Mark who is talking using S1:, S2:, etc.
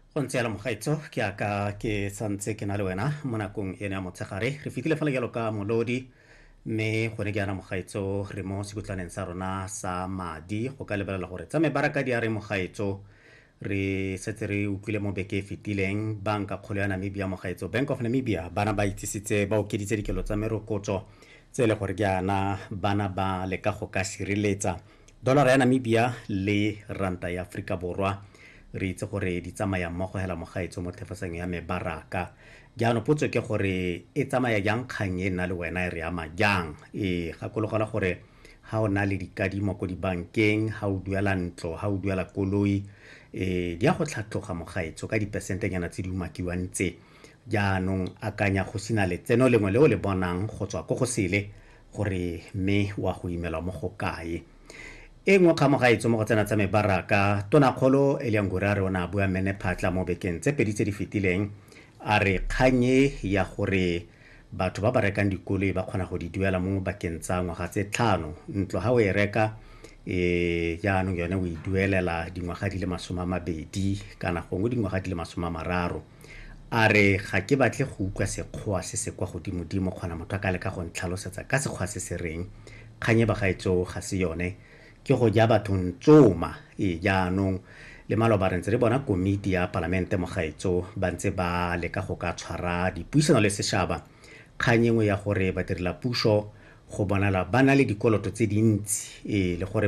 S1: Go ntse yalo mogaetso, ke aka ke santse ke na le wena mo nakong eno ya motshegare. Re fetile fela jalo ka molodi, mme gone ke yana mogaetso re mo sekutlaneng sa rona sa madi go ka lebelela gore tsa mebaraka di a re mogaetso. Re setse re utlwile mo beke e fetileng banka kgolo ya Namibia mogaetso, Bank of Namibia, bana ba itsisitse ba okeditse dikelo tsa merokotso tse e le gore jaana bana ba leka go ka sireletsa dollara ya Namibia le ranta ya Aforika Borwa. Re itse gore di tsamaya mmogo hela mogaetso mo thefosanyo ya mebaraka. Jaanong potso ke gore e tsamaya jang kgang e nna le wena e re ama jang? E gakologelwa gore ha o na le dikadimo ko dibankeng, ha o duela ntlo, ha o duela koloi, di a go tlhatloga mogaetso ka dipesentenyana tse di umakiwang tse. Jaanong akanya go sena letseno lengwe le o le bonang go tswa ko go sele gore mme wa go imelwa mo go kae. E nngwe kgamogaetso mo go tsena tsa mebaraka, Tonakgolo Elia Ngurare o ne a bua mene phatla mo bekeng tse pedi tse di fetileng, a re kgang e ya gore batho ba ba rekang dikoloi ba kgona go di duela mo bakeng tsa ngwaga tse 5, ntlo ha o e reka jaanong yone o e duelela dingwaga di le 20 kana gongwe dingwaga di le 30. A re ga ke batle go utlwa sekgowa se se kwa godimodimo, kgona motho a ka leka go ntlhalosetsa ka sekgowa se se reng. Kgang e bagaetso ga se yone, ke go ja batho ntsoma. Jaanong le maloba re ntse re bona komiti ya palamente mogaetso ba ntse ba leka go ka tshwara dipuisano le sešaba. Kgang engwe ya gore badirela puso go bonala ba na le dikoloto tse dintsi, le gore